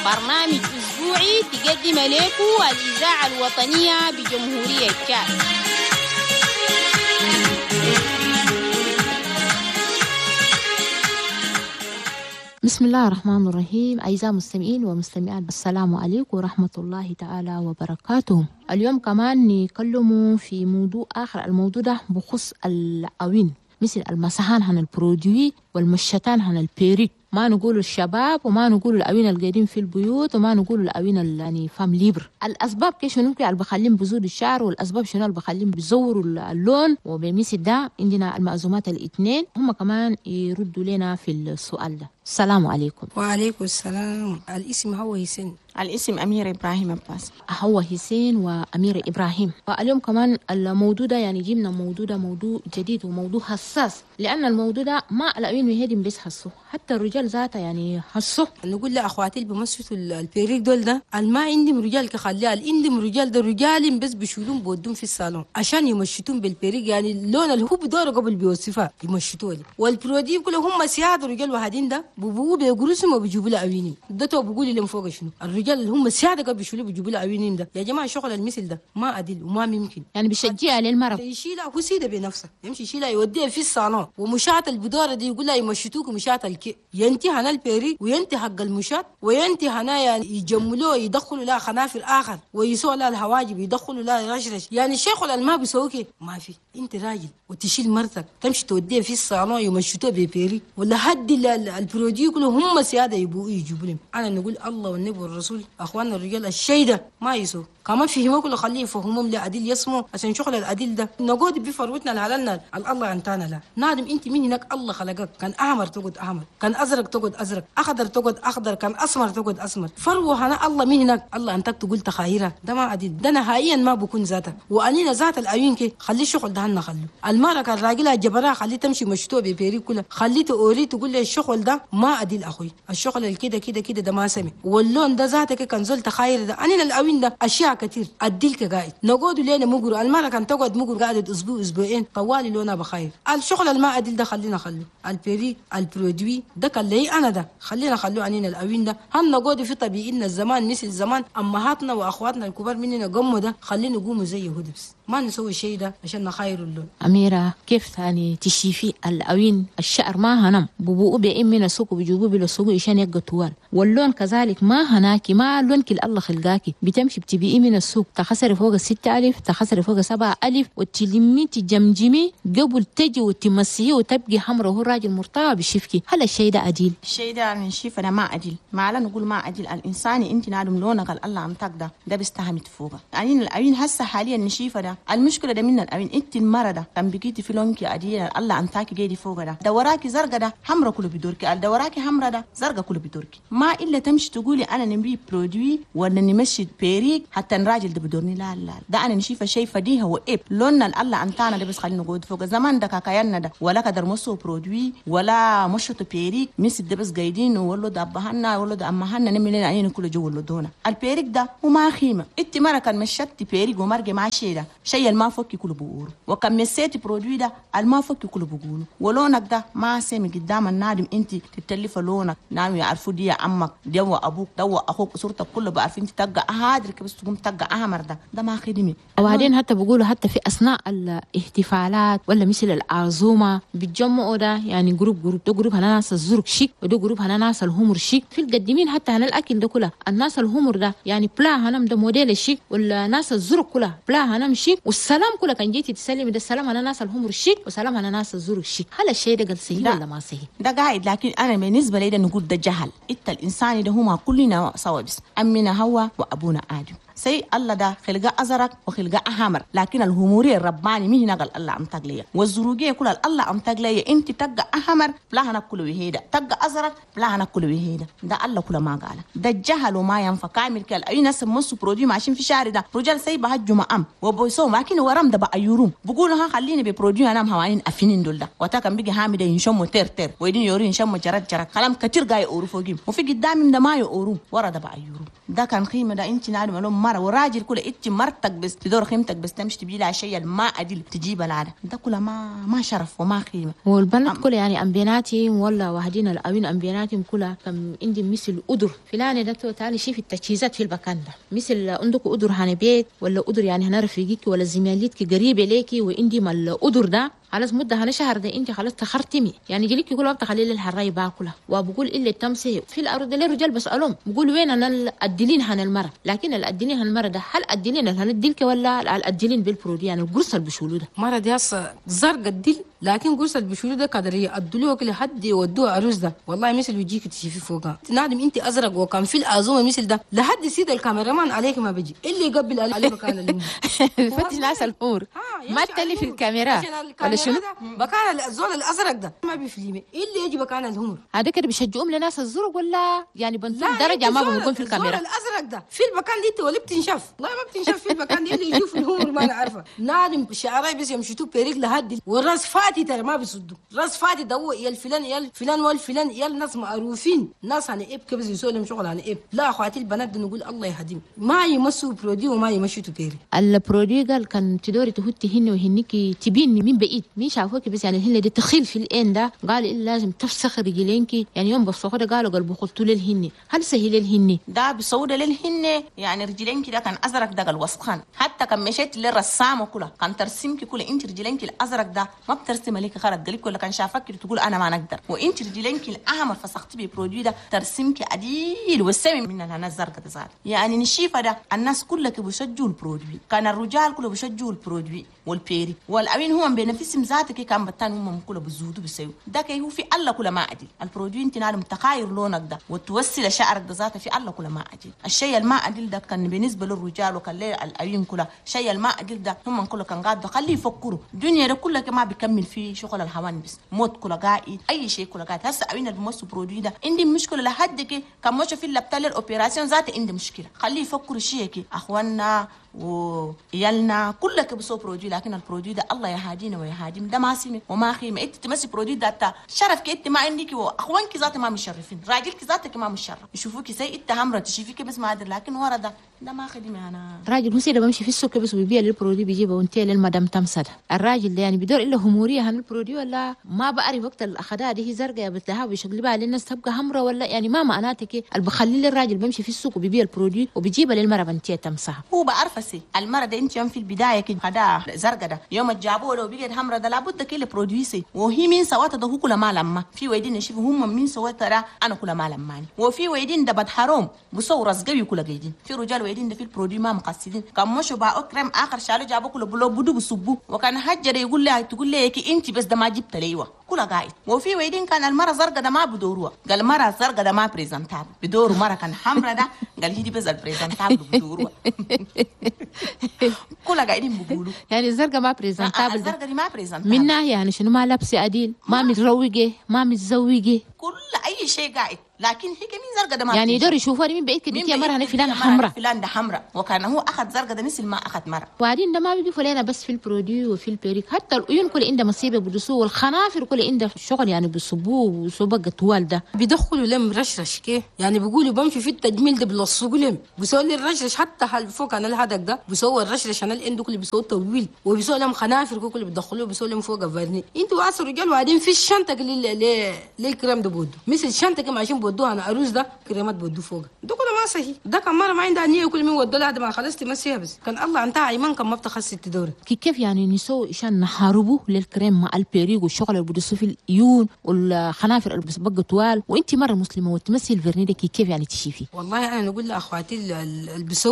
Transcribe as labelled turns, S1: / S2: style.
S1: برنامج أسبوعي تقدم لكم الإذاعة الوطنية بجمهورية تشاد.
S2: بسم الله الرحمن الرحيم. أعزائي المستمعين ومستمعات، السلام عليكم ورحمة الله تعالى وبركاته. اليوم كمان نتكلم في موضوع آخر، الموضوع ده بخص العوين مثل المسحان عن ال produit والمشتان عن ال perruque. ما نقول الشباب وما نقول العوين القاعدين في البيوت وما نقول العوين يعني femmes libres. الاسباب كيف شنو اللي بخليهم بزود الشعر والاسباب شنو اللي بخليهم بيزوروا اللون. وبمثل ده عندنا المأزومات الاثنين هم كمان يردوا لنا في السؤال ده. السلام عليكم.
S3: وعليكم السلام. الاسم هو حسين.
S4: الاسم أمير إبراهيم عباس.
S2: هو حسين وأمير إبراهيم. واليوم كمان الموضوع ده يعني جبنا موضوع ده موضوع جديد وموضوع حساس، لأن الموضوع ده ما الأمين مهدم بس حسوه، حتى الرجال ذاته يعني حسوه.
S3: نقول لأخواتي اللي بمسوا ال perruque دول ده ما عندهم رجال كخليها، عندهم رجال ده رجال بس بيشيلون بودون في الصالون عشان يمشتون بال perruque، يعني اللون اللي هو بدوره قبل بيوصفها يمشتوه لي. وال produit كله هم سياد رجال وهادين ده ببو بيجرسهم وبيجيبوا له عوينين ده تو بقول لهم فوق شنو الرجال اللي هم سيادة قبل بيشيلوا بيجيبوا له عوينين ده. يا جماعة شغل المثل ده ما عدل وما ممكن،
S2: يعني بيشجعها للمرض
S3: يشيلها هو سيده بنفسه يمشي يشيلها يوديها في الصالون ومشاط البدوره دي يقول لها يمشتوك مشاط الكي ينتهي هنا ال perruque وينتهي حق المشاط وينتهي هنا يعني يجملوه يدخلوا لها خنافر اخر ويسووا لها الحواجب يدخلوا لها رشرش. يعني الشيخ ما بيسووك ما في. انت راجل وتشيل مرتك تمشي توديها في الصالون يمشتوها ب perruque ولا حد ال produit كله هم سيادة يبوا يجيبوا لهم. انا نقول الله والنبي والرسول اخواننا الرجال الشيء ده ما يسووا كمان فهموا كله خليه يفهمهم لعديل يسمو عشان شغل العديل ده نقعد بفروتنا لحالنا الله انتانا لا نادم. انت من هناك الله خلقك كان احمر تقعد احمر، كان ازرق تقعد ازرق، اخضر تقعد اخضر، كان اسمر تقعد اسمر. فروه هنا الله من هناك الله انتك تقول تخايره ده ما عديل ده نهائيا ما بكون ذاته. وانينا ذات العيون كي خلي الشغل ده هنا خلو المرة كان راجلها جبرها خليه تمشي مشتوه ب perruque كله خليه توري تقول لي الشغل ده ما عديل اخوي الشغل كده كده كده ده ما سمي واللون ده ذاتك كان زول تخاير ده. انينا العوين ده اشياء كتير اديلك قاعد نقعد لينا مقر المرة كان تقعد مقر قاعدة اسبوع اسبوعين طوالي لونها بخير. الشغل الما عدل ده خلينا خلو ال perruque ال produit ده كان لي انا ده خلينا خلو عنينا العوين ده هن نقعد في طبيعنا الزمان مثل زمان امهاتنا واخواتنا الكبار مننا قموا ده خلينا نقوموا زي يهود بس ما نسوي شيء ده عشان نخير اللون.
S2: أميرة كيف ثاني تشيفي العوين الشعر ما هنم ببوء بإمنا سوق بجوبوا بلا سوق عشان يبقى طوال واللون كذلك ما هناكي ما لون كل الله خلقاكي بتمشي بتبيعي من السوق تخسري فوق 6000 تخسري فوق 7000 وتلمي تجمجمي قبل تجي وتمسيه وتبقي حمرا وهو راجل مرتاح بشفكي. هل الشيء ده عديل؟
S4: الشيء ده نشوف أنا ما عديل ما لا نقول ما عديل. الإنسان أنت نادم لونك الله عم تقدر ده بيستهمت فوقه. يعني العين هسه حاليا نشيفه ده المشكلة ده من العين انت المرة ده كان بقيتي في لونك عديل الله عم تاكي جيدي فوق ده دوراكي زرقاء ده حمرا كله بدوركي دوراكي حمرا ده زرقاء كله بدوركي. ما الا تمشي تقولي انا نبي produit ولا نمشي perruque حتى الراجل ده بدورني لا لا ده انا نشيفه شيء فديها وإب لوننا الله انتانا ده بس خلينا نقعد فوق زمان ده كاكايانا ده ولا كدر مسو produit ولا مشط perruque مس ده بس قايدين ولا ده ابهنا ولا ده امهنا نملنا عين كله جو ولا دونا ال perruque ده وما خيمة. انت مرة كان مشت perruque ومرجع مع شيء ده شيء الما فك كله بقوله وكم مسيتي produit ده الما فك كله بقوله ولونك ده ما سامي قدام النادم انت تتلف لونك نعم يعرفوا دي يا عمك دي وابوك ده واخوك صورتك كله بعرفين انت تلقى هادر بس تقوم تلقى احمر ده ده ما خدمي.
S2: وبعدين حتى بقولوا حتى في اثناء الاحتفالات ولا مثل العزومة بيتجمعوا ده يعني groupe groupe ده groupe هنا ناس الزرق شيك وده groupe هنا ناس الهمر شيك في القديمين حتى هنا الاكل ده كله الناس الهمر ده يعني plat هنا ده موديل الشيك والناس الزرق كلها plat هنا شيك والسلام كله كان جيتي تسلم ده السلام هنا ناس الهمر شيك وسلام هنا ناس الزرق شيك. هل الشيء ده قال صحيح ولا ما صحيح؟
S4: ده قاعد لكن انا بالنسبة لي ده نقول ده جهل. انت الانسان ده هما كلنا سوا بس امنا هو وابونا ادم سي الله ده خلقه أزرق وخلقه أحمر لكن الهموري الرباني مين هنا قال الله عم تقليه والزروقية كل الله عم تقليه انت تلقى أحمر بلا هنا كله وهيدا تلقى أزرق بلا هنا كله وهيدا ده الله كله ما قال ده الجهل وما ينفع كامل كل أي ناس مسوا produit ماشيين في شارع ده رجال سي بهجوا مأم وبويسو لكن ورم ده بقى يروم بقولوا ها خليني ب produit أنا مهوانين أفنين دول ده وتاكم بيجي هامي ده ينشموا تر تر ويدين يوري ينشموا جرت جرت كلام كتير جاي أورو فوقيم وفي قدامهم ده ما يورو ورا ده بقى يورو ده كان قيمة ده انت نعلم لهم المرة وراجل كله انت مرتك بس تدور خيمتك بس تمشي تبي لها شيء ما ادل تجيب العادة ده كله ما شرف وما قيمة.
S2: والبنات كله يعني امبيناتهم ولا واحدين الاوين امبيناتهم كلها كم عندي مثل قدر فلان ده تعالي شوف التجهيزات في المكان ده، مثل عندك قدر هنا بيت ولا قدر يعني هنا رفيقك ولا زميلتك قريبه ليكي، وعندي ما القدر ده خلاص مده هنا شهر ده انت خلاص تخرتمي يعني جليك يقول وقت خلي الحراي باكلها وبقول الا تمسي في الارض للرجال بسالهم بقول وين انا الادلين هن المرة، لكن الادلين هن المرة ده هل ادلين هن الدلك ولا الادلين بال produit يعني القرص اللي بشولو ده
S3: مرة دي هسه زرق الدل، لكن قرص اللي بشولو ده قدر يدلوه كل حد يودوه عروس ده والله مثل يجيك تشوفي فوقها نادم انت ازرق وكان في الازومه مثل ده لحد سيد ال caméraman عليك ما بيجي اللي يقبل عليه مكان الامور
S2: فتش ناس الامور ما تلي في الكاميرا ولا شنو
S3: مكان الزول الازرق ده ما بيفليمي اللي يجي مكان الهمر
S2: هذا كده بيشجعوهم لناس الزرق ولا يعني بنتم درجه ما بنكون في الكاميرا.
S3: الازرق ده في المكان دي انت ولا بتنشف والله ما بتنشف في المكان دي اللي يشوف الهمر ما انا عارفه نادم شعراي بس يمشتوا perruque لهدي والراس فاتي ترى ما بيصدوا راس فاتي ده هو يا الفلان يا الفلان والفلان يا الناس معروفين ناس عن اب كبز يسوي لهم شغل عن اب. لا اخواتي البنات ده نقول الله يهديهم ما يمسوا produit وما يمشوا perruque.
S2: ال produit قال كان تدوري تهتي هن وهنيكي تبيني من بعيد مين شافوك بس يعني الهن دي تخيل في الان ده قال إلا لازم تفسخ رجلينك يعني يوم بفسخ ده قالوا قلبه قلت للهن هل سهل الهن
S4: ده بصوده للهن يعني رجلينك ده كان ازرق ده الوسخان حتى كان مشيت للرسام كله كان ترسمك كله انت رجلينك الازرق ده ما بترسم لك خرج قلبك ولا كان شافك تقول انا ما نقدر، وانت رجلينك الاحمر فسختي ب produit ده ترسمك عديل والسمي من انا الزرق ده زاد يعني نشيفه ده الناس كلها بيشجوا ال produit كان الرجال كله بيشجوا ال produit وال perruque والامين هم بنفسهم ذاتك كان بتان هم كله بزودوا بيسووا ده كي هو في الله كله ما عدل ال produit انت نعلم تخاير لونك ده وتوسل شعرك ده ذاته في الله كله ما عدل. الشيء الما عدل ده كان بالنسبة للرجال وكان للأوين كله شيء الما عدل ده هم كله كان قاعد خليه يفكروا الدنيا ده كله ما بيكمل فيه شغل الهوان بس موت كله قاعد اي شيء كله قاعد. هسه اوين اللي بمسوا produit ده عندي مشكلة لحد كي كان مش في اللبتال ال opération ذاته عندي مشكلة خليه يفكروا شيء كي اخواننا ويالنا كلك بسو produit، لكن ال produit ده الله يهدينا ويهديهم ده ما سمي وما خيمة انت تمسي produit ده شرف انت ما عندك واخوانك ذات ما مشرفين راجلك ذاتك ما مشرف يشوفوك زي انت همره تشوفيك بس ما ادري لكن ورا ده ما خدمة. انا
S2: راجل مسيره بمشي في السوق بس وبيبيع ال produit بيجيبه وانت للمدام تمسد الراجل ده يعني بدور الا هموريه هن ال produit ولا ما بعرف وقت الاخدها دي هي زرقاء بتلها وبيشقلبها للناس تبقى همره ولا يعني ما معناتك اللي بخلي الراجل بمشي في السوق وبيبيع ال produit وبيجيبها للمرة بنتيه تمسها
S4: هو بعرف سي المرة ده انت يوم في البداية كده هذا زرقاء ده يوم جابوه لو بيجي همره ده لابد كل produit سي وهي مين سواتها ده هو كل ما لما في ويدين نشوف هم مين سواتها ده انا كل ما لماني وفي ويدين ده بدحروم بصور رزقوي كل قاعدين في رجال ويدين ده في ال produit ما مقصدين كان مشوا باعوا كريم اخر شالوا جابوا كله بلو بدو بصبو وكان حجر يقول لها تقول لي انت بس ده ما جبت ليوا كل قاعد. وفي ويدين كان المرة زرقاء ده ما بدوروها قال مرة زرقاء ده ما présentable بدورو مرة كان حمرا ده قال هي دي بس ال présentable بدوروها كل قاعدين بيقولوا
S2: يعني الزرقاء ما présentable
S4: الزرقاء دي ما présentable
S2: من ناحية يعني شنو ما لابسه عديل ما متروقه ما متزوجة
S4: كل اي شيء قاعد لكن هي كمين زرقاء ده ما
S2: يعني يقدروا يشوفوها من بعيد كده يا مرة فلان حمراء
S4: فلان ده حمراء وكان هو اخذ زرقاء ده مثل ما اخذ مرة.
S2: وبعدين ده ما بيقفوا لنا بس في ال produit وفي ال perruque حتى العيون كل عنده مصيبة بدسوه والخنافر كل عنده شغل يعني بيصبوه وصبق طوال ده
S3: بيدخلوا لم رشرش كي يعني بيقولوا بمشي في التجميل ده بلصقوا لهم بيسووا لي الرشرش حتى هل فوق انا الهدك ده بيسووا الرشرش انا اللي كل بيسووا طويل وبيسووا لهم خنافر كل بيدخلوه بيسووا لهم فوق vernis انتوا عصر رجال. وبعدين في الشنطة اللي الكريم ده بودو مثل الشنطة كما عشان بودوها انا عروس ده كريمات بودو فوق ده كله ما صحيح ده كان مرة ما عندها نيه كل من ودوا لها ما خلصت مسيها بس كان الله انتهى ايمان كان ما بتخسي تدور
S2: كيف يعني نسوي عشان نحاربه للكريم مع ال perruque والشغل اللي بدسوا في العيون والخنافر اللي بقى طوال وانت مرة مسلمة وتمسي ال vernis ده كيف يعني تشيفي؟
S3: والله انا نقول لاخواتي اللي بيسووا